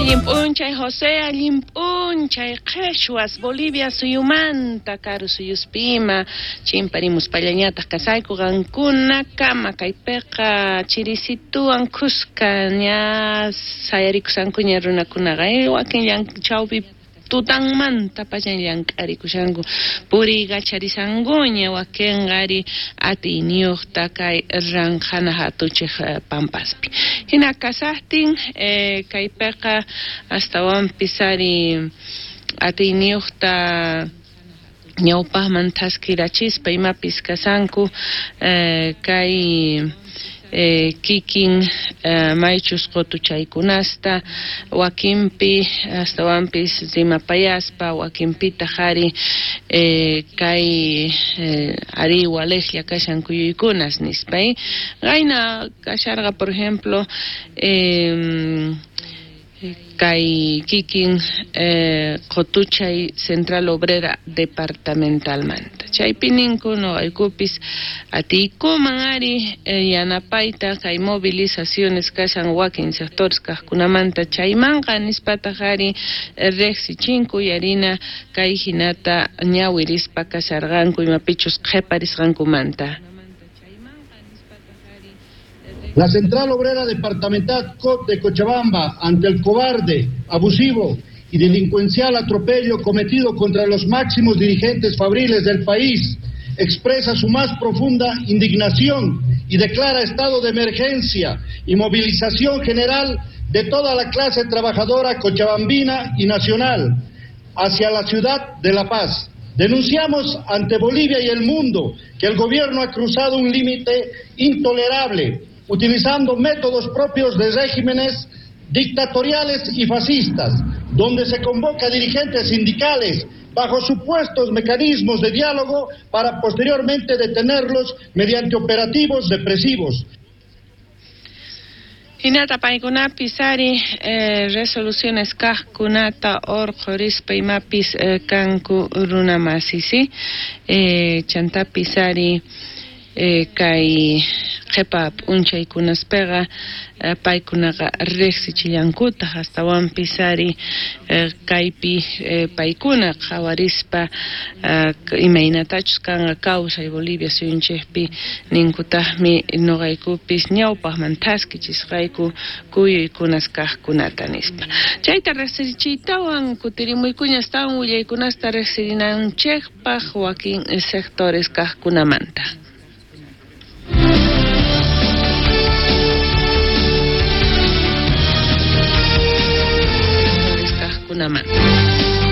Allin p'unchay José, allin p'unchay qheshwas Bolivia suyumanta karu suyuspi ima chimparimuspallañataq kasayku qankunakama kaypiqa chirisituwan khuska ña sayarikushankuña runakunaqa wakin chawpi tutanmanta pacha llank'arikushanku puriykacharishankuña wakinqa ari atiyniyuqta kay ranqhana hatuchiq pampaspi hina kasaqtin kaypiqa astawanpis ari atiyniyuqta ñawpaqman thaskirachispa imapis kashanku kay kikin maychus qutuchaykunasta wakinpi astawanpis rimapayaspa wakinpitaq ari kay ari waliqlla kashan kuyuykunas nispa qayna kasharqa por ejemplo kay kikin qutuchay Central Obrera Departamentalmanta chaypi ninku nuqaykupis atiykuman ari yanapayta kay movilizaciones kashan wakin sectores kaqkunamanta chaymanqa nispataq ari riqsichinku yarina kay hinata ñawirispa kasharqanku imapichus qhiparisqankumanta. La Central Obrera Departamental COP de Cochabamba, ante el cobarde, abusivo y delincuencial atropello cometido contra los máximos dirigentes fabriles del país, expresa su más profunda indignación y declara estado de emergencia y movilización general de toda la clase trabajadora cochabambina y nacional hacia la ciudad de La Paz. Denunciamos ante Bolivia y el mundo que el gobierno ha cruzado un límite intolerable, utilizando métodos propios de regímenes dictatoriales y fascistas, donde se convoca a dirigentes sindicales bajo supuestos mecanismos de diálogo para posteriormente detenerlos mediante operativos represivos. Hinata paykunapis ari resoluciones kaqkunata urqhurispa imapis kanku runamasi, ¿sí? Chantapis ari kay qhipa p'unchaykunaspiqa paykunaqa riqsichillankutaq astawanpis ari kaypi paykuna qhawarispa imaynatachus kanqa kawsay Bolivia suyunchikpi ninkutaqmi nuqaykupis ñawpaqman thaskichisqayku kuyuykunas kaqkunata nispa. Chayta riqsichiytawan kutirimuykuña astawan willaykunasta riqsirinanchikpaq wakin sectores kaqkunamanta. Kaqkunamanta.